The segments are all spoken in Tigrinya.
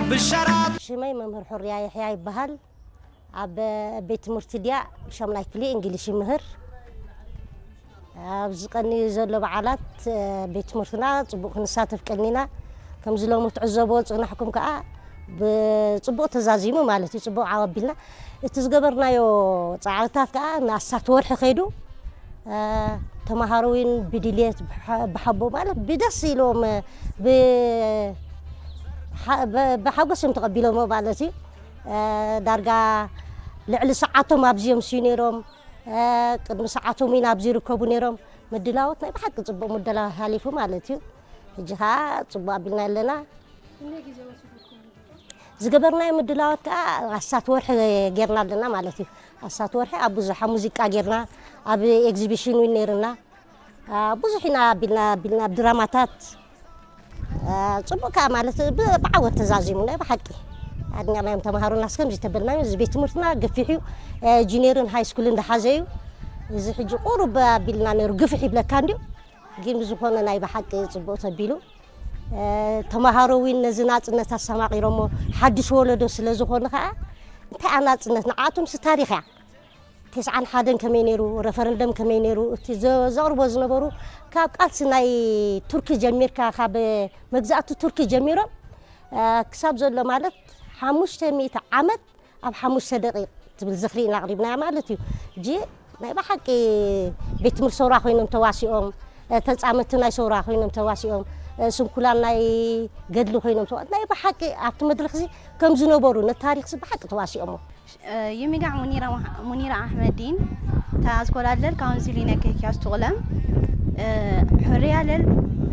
ብሸራት ሽመይ መምህር ሑርያ ይሕያ ይበሃል። ኣብ ቤት ትምህርቲ ድያ ሻምናይ ክፍሊ እንግሊሽ ይምህር። ኣብዚ ቀንዩ ዘሎ በዓላት ቤት ትምህርትና ጽቡቕ ክንሳተፍ ቀኒና። ከምዚ ሎሚ ትዕዘቦ ጽናሕኩም ከኣ ብጽቡቕ ተዛዚሙ ማለት እዩ። ጽቡቕ ዓው ኣቢልና። እቲ ዝገበርናዮ ጻዕርታት ከኣ ንኣስታት ወርሒ ከይዱ። ተማሃሮ እውን ብድልየት ብሓቦ ማለት ብደስ ኢሎም ብሓጎስ እዮም ተቐቢሎሞ ማለት እዩ። ዳርጋ ልዕሊ ሰዓቶም ኣብዚ እዮም ስዩ ነይሮም። ቅድሚ ሰዓቶም እውን ኣብዚ ይርከቡ ነይሮም። ምድላዎት ናይ ብሓቂ ጽቡቕ ምድላው ሓሊፉ ማለት እዩ። ሕጂ ከዓ ጽቡቕ ኣቢልና ኣለና። ዝገበርናዮ ምድላዋት ከዓ ኣስታት ወርሒ ጌርና ኣለና ማለት እዩ። ኣስታት ወርሒ ኣብ ብዙሓ ሙዚቃ ጌርና፣ ኣብ ኤግዚቢሽን እውን ነይርና። ብዙሕ ኢና ኣቢልና ኣቢልና ኣብ ድራማታት ጽቡቅ ከዓ ማለት ብዓወት ተዛዚሙ ናይ ብሓቂ ኣድኒቕናዮም ተምሃሮና። እስከምዚ ተበልናዮ እዚ ቤት ትምህርትና ገፊሕ እዩ። ጁኒየርን ሃይ ስኩልን ዝሓዘ እዩ። እዚ ሕጂ ቁሩብ ኣቢልና ነይሩ ግፍሕ ይብለካ እንድዩ። ግን ብዝኾነ ናይ ብሓቂ ጽቡቕ ተቢሉ። ተምሃሮ እውን ነዚ ናጽነት ኣስተማቒሮሞ ሓድሽ ወለዶ ስለ ዝኾኑ ከዓ እንታይ ናጽነት ንዓኣቶም ሲ ታሪኽ እያ። ተስዓን ሓደን ከመይ ነይሩ፣ ረፈረንደም ከመይ ነይሩ፣ እቲ ዘቕርቦ ዝነበሩ ካብ ቃልሲ ናይ ቱርኪ ጀሚርካ ካብ መግዛእቲ ቱርኪ ጀሚሮም ክሳብ ዘሎ ማለት ሓሙሽተ ሚእቲ ዓመት ኣብ ሓሙሽተ ደቂቕ ትብል ዝኽሪ ኢና ኣቕሪብናያ ማለት እዩ። ሕጂ ናይ ብሓቂ ቤት ትምህርቲ ሰውራ ኮይኖም ተዋሲኦም፣ ተጻመቲ ናይ ሰውራ ኮይኖም ተዋሲኦም፣ ስንኩላን ናይ ገድሊ ኮይኖም ተዋ ናይ ብሓቂ ኣብቲ መድረኽ እዚ ከም ዝነበሩ ነቲ ታሪኽ እዚ ብሓቂ ተዋሲኦሞ። ይሚጋዕ ሙኒራ ኣሕመዲን ተኣዝኮላደል ካውንሲሊነ ኬኪያስ ትቑለም ሕርያ ለል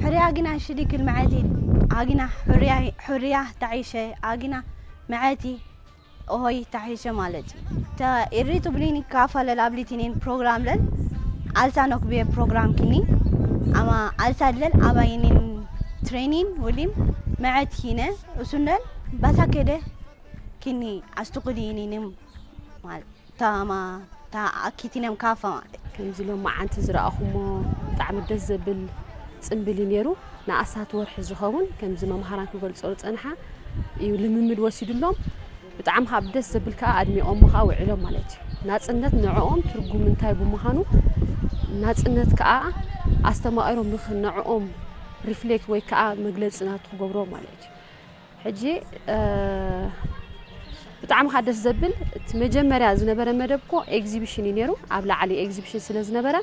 ሕርያ ግና ሽሊክል መዐቲ ኣግና ሕርያ ተዒሸ ኣግና መዐቲ ኦሆይ ተሒሸ ማለት እዩ። ተ ኢሪ ቱብሊን ካፋለል ኣብሊቲኔን ፕሮግራም ለል ኣልታ ኖክቤ ፕሮግራም ኪኒ ኣማ ኣልታ ለል ኣባይኒን ትሬኒን ውሊም መዐት ኪነ እሱነል ባታ ከደ ኪኒ ኣስቱቁሊኒንም ማለት ታማ ታ ኣኪቲነም ካፋ ማለት ከምዚ ሎም መዓንቲ ዝረኣኹሞ ብጣዕሚ ደስ ዘብል ጽምብል እዩ ነይሩ። ንኣስታት ወርሒ ዝኸውን ከምዚ መምሃራን ክገልጾ ዝጸንሓ እዩ ልምምድ ወሲዱሎም። ብጣዕሚ ካብ ደስ ዘብል ከዓ ኣድሚቖሞ ከዓ ውዒሎም ማለት እዩ። ናጽነት ንዕኦም ትርጉም እንታይ ብምዃኑ ናጽነት ከዓ ኣስተማቒሮም ንኽ- ንዕኦም ሪፍሌክት ወይ ከዓ መግለፂ ናቱ ክገብሮ ማለት እዩ። ሕጂ ብጣዕሚ ከዓ ደስ ዘብል እቲ መጀመርያ ዝነበረ መደብ እኮ ኤግዚቢሽን እዩ ነይሩ። ኣብ ላዕሊ ኤግዚቢሽን ስለ ዝነበረ